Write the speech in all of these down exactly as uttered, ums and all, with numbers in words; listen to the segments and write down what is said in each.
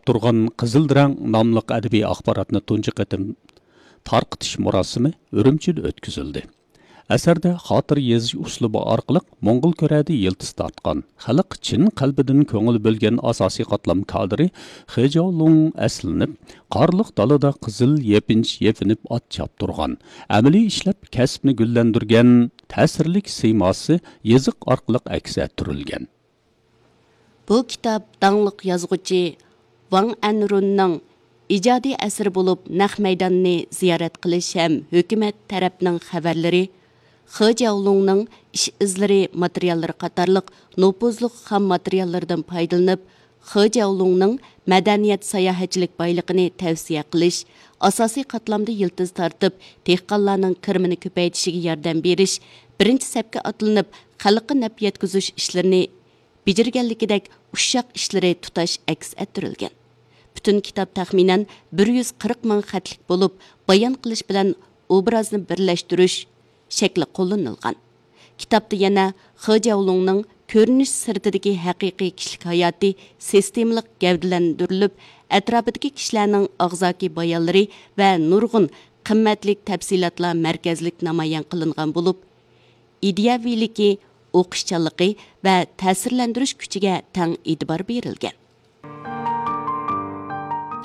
تۇرغان قىزىل رەڭ ناملىق ئەدەبىي ئاخباراتنى تۇنجى قېتىم تارقىتىش مۇراسىمى ئۈرۈمچىدە ئۆتكۈزۈلدى. ئەسەردە خاتىرە يېزىش ئۇسلۇبى ئارقىلىق موڭغۇل كۆرەدە يىلتىز تارتقان، خەلق چىن قەلبىدىن كۆڭۈل بۆلگەن ئاساسىي قاتلام كادىرى خې جياۋلۇڭ ئەسلىنىپ، قارلىق دالىدا قىزىل يېپىنچا يېپىنىپ ئات چاپتۇرغان، ئەمەلىي ئىشلەپ كەسىپنى گۈللەندۈرگەن تەسىرلىك سىيماسى يېزىق ئارقىلىق ئەكس ئەتتۈرۈلگەن. بۇ كىتاب داڭلىق يازغۇچى ۋاڭ ئەنرۇننىڭ ئىجادىي ئەسىرى بولۇپ، نەق مەيداننى زىيارەت قىلىش ھەم ھۆكۈمەت تەرەپنىڭ خەۋەرلىرى، خې جياۋلۇڭنىڭ ئىش ئىزلىرى ماتېرىياللىرى قاتارلىق نوپۇزلۇق خام ماتېرىياللىرىدىن پايدىلىنىپ، خې جياۋلۇڭنىڭ مەدەنىيەت ساياھەتچىلىك بايلىقىنى تەۋسىيە قىلىش، ئاساسىي قاتلامدا يىلتىز تارتىپ، دېھقانلارنىڭ كىرىمىنى كۆپەيتىشىگە ياردەم بېرىش، بىرىنچى سەپكە ئاتلىنىپ، خەلققە نەپ يەتكۈزۈش ئىشلىرىنى بېجىرگەنلىكىدەك ئۇششاق ئىشلىرى تۇتاش ئەكس ئەتتۈرۈلگەن. پۈتۈن كىتاب تەخمىنەن بىر يۈز قىرىق مىڭ خەتلىك بولۇپ، بايان قىلىش بىلەن ئوبرازنى بىرلەشتۈرۈش شەكلى قوللىنىلغان. كىتابتا يەنە خې جياۋلۇڭنىڭ كۆرۈنۈش سىرتىدىكى ھەقىقىي كىشىلىك ھاياتى سىستېمىلىق گەۋدىلەندۈرۈلۈپ، ئەتراپىدىكى كىشىلەرنىڭ ئاغزاكى بايانلىرى ۋە نۇرغۇن قىممەتلىك تەپسىلاتلار مەركەزلىك نامايان قىلىنغان بولۇپ، ئىدىيەۋىلىكى، ئوقۇشچانلىقى ۋە تەسىرلەندۈرۈش كۈچىگە تەڭ ئېتىبار بېرىلگەن.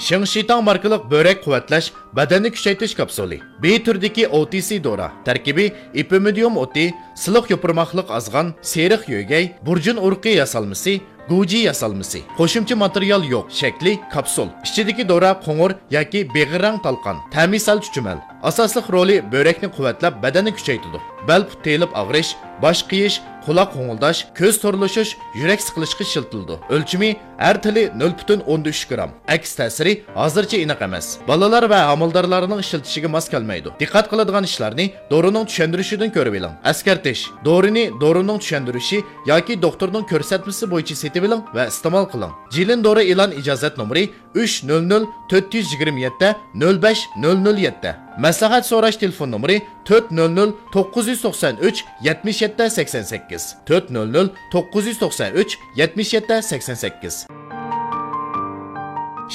شىڭ شىتاڭ ماركىلىق بۆرەك قۇۋۋەتلەش بەدەننى كۈچەيتىش كاپسۇلى. بى تۈرىدىكى ئو تى سى دورا. تەركىبى ئېپىمىدىيۇم ئوتى، سىلىق يوپۇرماقلىق ئازغان، سېرىق يۆگەي، بۇرجۇن ئۇرۇقى ياسالمىسى، گۇجى ياسالمىسى. قوشۇمچە ماتېرىيال يوق. شەكلى كاپسۇل. ئىچىدىكى دورا قوڭۇر ياكى بېغىر رەڭ تالقان. تەمى سەل چۈچۈمەل. ئاساسلىق رولى بۆرەكنى قۇۋۋەتلەپ، بەدەننى كۈچەيتىدۇ. بەل پۇت تېيىلىپ ئاغرىش، باش قېيىش، قۇلاق غوڭۇلداش، كۆز تورلىشىش، يۈرەك سىقىلىشقا ئىشلىتىلىدۇ. ئۆلچىمى ئەر تىلى نۆل پۈتۈن ئوندىن ئۈچ گرام. ئەكس تەسىرى ھازىرچە ئېنىق ئەمەس. بالىلار ۋە ھامىلىدارلارنىڭ ئىشلىتىشىگە ماس كەلمەيدۇ. دىققەت قىلىدىغان ئىشلارنى دورىنىڭ چۈشەندۈرۈشىدىن كۆرۈۋېلىڭ. ئەسكەرتىش: دورىنى دورىنىڭ چۈشەندۈرۈشى ياكى دوختۇرنىڭ كۆرسەتمىسى بويىچە سېتىۋېلىڭ ۋە ئىستېمال قىلىڭ. جىلىن دورا ئېلان ئىجازەت نومۇرى ئۈچ نۆل نۆل تۆت يۈز يىگىرمە يەتتە نۆل بەش نۆل نۆل يەتتە. مەسلىھەت سوراش تېلېفون نومۇرى تۆت نۆل نۆل توققۇز يۈز توقسان ئۈچ يەتمىش يەتتە سەكسەن سەككىز، تۆت نۆل نۆل توققۇز يۈز توقسان ئۈچ يەتمىش يەتتە سەكسەن سەككىز.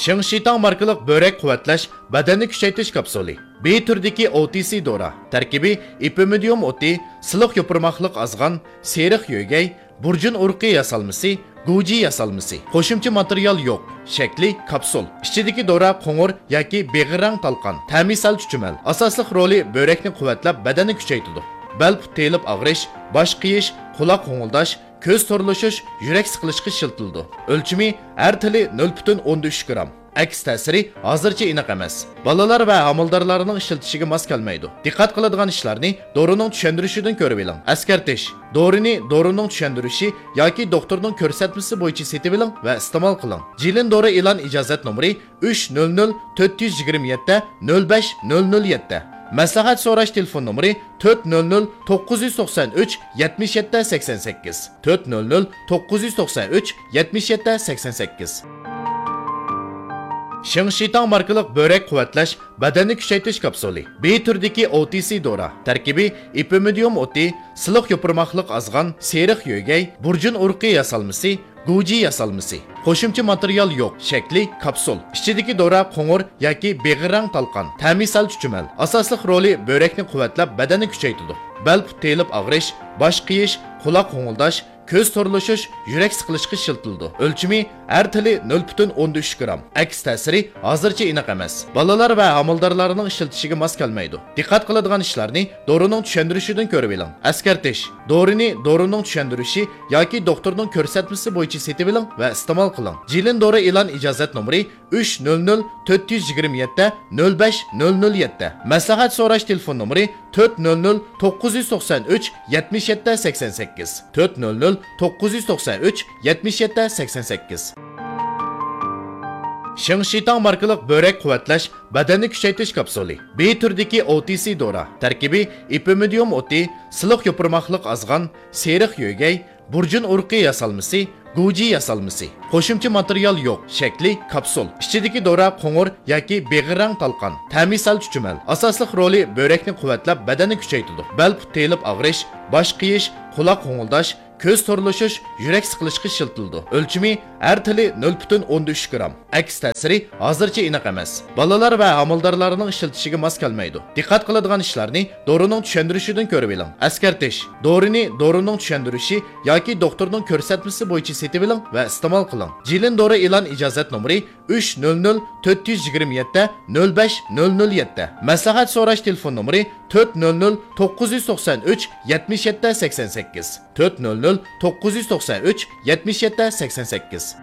شىڭ شىتاڭ ماركىلىق بۆرەك قۇۋۋەتلەش بەدەننى كۈچەيتىش كاپسۇلى. بى تۈرىدىكى ئو تى سى دورا. تەركىبى ئېپىمىدىيۇم ئوتى، سىلىق يوپۇرماقلىق ئازغان، سېرىق يۆگەي، بۇرجۇن ئۇرۇقى ياسالمىسى، گۇجى ياسالمىسى. قوشۇمچە ماتېرىيال يوق. شەكلى كاپسۇل. ئىچىدىكى دورا قوڭۇر ياكى بېغىر رەڭ تالقان. تەمى سەل چۈچۈمەل. ئاساسلىق رولى بۆرەكنى قۇۋۋەتلەپ، بەدەننى كۈچەيتىدۇ. بەل پۇت تېيىلىپ ئاغرىش، باش قېيىش، قۇلاق غوڭۇلداش، كۆز تورلىشىش، يۈرەك سىقىلىشقا ئىشلىتىلىدۇ. ئۆلچىمى ئەر تىلى نۆل پۈتۈن ئوندىن ئۈچ گرام. ئەكس تەسىرى ھازىرچە ئېنىق ئەمەس. بالىلار ۋە ھامىلىدارلارنىڭ ئىشلىتىشىگە ماس كەلمەيدۇ. دىققەت قىلىدىغان ئىشلارنى دورىنىڭ چۈشەندۈرۈشىدىن كۆرۈۋېلىڭ. ئەسكەرتىش: دورىنى دورىنىڭ چۈشەندۈرۈشى ياكى دوختۇرنىڭ كۆرسەتمىسى بويىچە سېتىۋېلىڭ ۋە ئىستېمال قىلىڭ. جىلىن دورا ئېلان ئىجازەت نومۇرى ئۈچ نۆل نۆل تۆت يۈز يىگىرمە يەتتە نۆل بەش نۆل نۆل يەتتە. مەسلىھەت سوراش تېلېفون نومۇرى تۆت نۆل نۆل توققۇز يۈز توقسان ئۈچ يەتمىش يەتتە سەكسەن سەككىز، تۆت نۆل نۆل توققۇز يۈز توقسان ئۈچ يەتمىش يەتتە سەكسەن سەككىز. شىڭ شىتاڭ ماركىلىق بۆرەك قۇۋۋەتلەش بەدەننى كۈچەيتىش كاپسۇلى. بى تۈرىدىكى ئو تى سى دورا. تەركىبى ئېپىمىدىيۇم ئوتى، سىلىق يوپۇرماقلىق ئازغان، سېرىق يۆگەي، بۇرجۇن ئۇرۇقى ياسالمىسى، گۇجى ياسالمىسى. قوشۇمچە ماتېرىيال يوق. شەكلى كاپسۇل. ئىچىدىكى دورا قوڭۇر ياكى بېغىر رەڭ تالقان. تەمى سەل چۈچۈمەل. ئاساسلىق رولى بۆرەكنى قۇۋۋەتلەپ، بەدەننى كۈچەيتىدۇ. بەل پۇت تېيىلىپ ئاغرىش، باش قېيىش، قۇلاق غوڭۇلداش، كۆز تورلىشىش، يۈرەك سىقىلىشقا ئىشلىتىلىدۇ. ئۆلچىمى ئەر تىلى نۆل پۈتۈن ئوندىن ئۈچ گرام. ئەكس تەسىرى ھازىرچە ئېنىق ئەمەس. بالىلار ۋە ھامىلىدارلارنىڭ ئىشلىتىشىگە ماس كەلمەيدۇ. دىققەت قىلىدىغان ئىشلارنى دورىنىڭ چۈشەندۈرۈشىدىن كۆرۈۋېلىڭ. ئەسكەرتىش: دورىنى دورىنىڭ چۈشەندۈرۈشى ياكى دوختۇرنىڭ كۆرسەتمىسى بويىچە سېتىۋېلىڭ ۋە ئىستېمال قىلىڭ. جىلىن دورا ئېلان ئىجازەت نومۇرى ئۈچ نۆل نۆل تۆت يۈز يىگىرمە يەتتە نۆل بەش نۆل نۆل يەتتە. مەسلىھەت سوراش تېلېفون نومۇرى تۆت نۆل نۆل توققۇز يۈز توقسان ئۈچ يەتمىش يەتتە سەكسەن سەككىز، تۆت نۆل نۆل توققۇز يۈز توقسان ئۈچ يەتمىش يەتتە سەكسەن سەككىز. شىڭ شىتاڭ ماركىلىق بۆرەك قۇۋۋەتلەش بەدەننى كۈچەيتىش كاپسۇلى. بى تۈرىدىكى ئو تى سى دورا. تەركىبى ئېپىمىدىيۇم ئوتى، سىلىق يوپۇرماقلىق ئازغان، سېرىق يۆگەي، بۇرجۇن ئۇرۇقى ياسالمىسى، گۇجى ياسالمىسى. قوشۇمچە ماتېرىيال يوق. شەكلى كاپسۇل. ئىچىدىكى دورا قوڭۇر ياكى بېغىر رەڭ تالقان. تەمى سەل چۈچۈمەل. ئاساسلىق رولى بۆرەكنى قۇۋۋەتلەپ، بەدەننى كۈچەيتىدۇ. بەل پۇت تېيىلىپ ئاغرىش، باش قېيىش، قۇلاق غوڭۇلداش، كۆز تورلىشىش، يۈرەك سىقىلىشقا ئىشلىتىلىدۇ. ئۆلچىمى ھەر تىلى نۆل پۈتۈن ئوندىن ئۈچ گرام. ئەكس تەسىرى ھازىرچە ئېنىق ئەمەس. بالىلار ۋە ھامىلىدارلارنىڭ ئىشلىتىشىگە ماس كەلمەيدۇ. دىققەت قىلىدىغان ئىشلارنى دورىنىڭ چۈشەندۈرۈشىدىن كۆرۈۋېلىڭ. ئەسكەرتىش: دورىنى دورىنىڭ چۈشەندۈرۈشى ياكى دوختۇرنىڭ كۆرسەتمىسى بويىچە سېتىۋېلىڭ ۋە ئىستېمال قىلىڭ. جىلىن دورا ئېلان ئىجازەت نومۇرى ئۈچ نۆل نۆل تۆت يۈز يىگىرمە يەتتە نۆل بەش نۆل نۆل يەتتە. مەسلىھەت سوراش تېلېفون نومۇرى تۆت نۆل نۆل توققۇز يۈز توقسان ئۈچ يەتمىش يەتتە سەكسەن سەككىز، تۆت نۆل نۆل توققۇز يۈز توقسان ئۈچ يەتمىش يەتتە سەكسەن سەككىز.